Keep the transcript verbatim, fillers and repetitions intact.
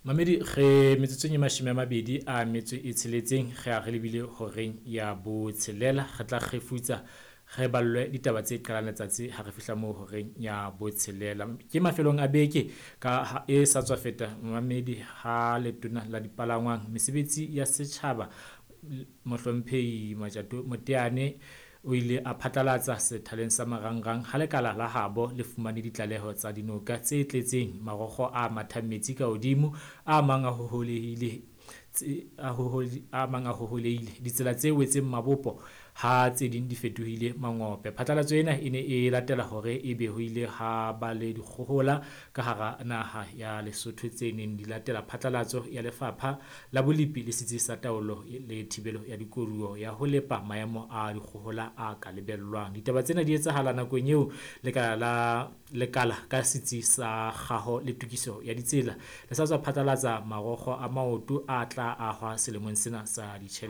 Mamedi re metsotsong e mashome a mabedi a metso e tsheletseng re a re lebile horeng ya botshelela. Re tla kgefutsa re ballwe ditaba tse qalang letsatsi ha re fihla moo horeng ya botshelela. Ke mafelong a beke ka e sa tswa feta mamedi ha letona la dipalangwang mesebetsi ya setjhaba Mohlomphehi Matjato Moteane o ile a phatlalatsa sethaleng sa marangrang ha lekala la habo le fumane ditlaleho tsa dinoka tse tletseng marokgo a mathang metsi ka hodimo, a mang a hoholehile a a mang a hoholehile ditsela tse wetseng mabopo ha tse ding di fetohile mangope. Phatlalatso ena e ne e latela hore ebe ho ile ha ba le dikgohola ka hara naha ya Lesotho tse neng di latela phatlalatso ya Lefapha la Bolepi le Setsi sa Taolo le Thibelo ya Dikoduwa ya ho lepa maemo a dikgohola a ka lebellwang. Ditaba tsena di etsahala nakong eo lekala la lekala ka setsi sa kgaho le tokiso ya ditsela le sa tswa phatlalatsa marokgo a maoto a tla ahwa selemong sena sa ditjhelete.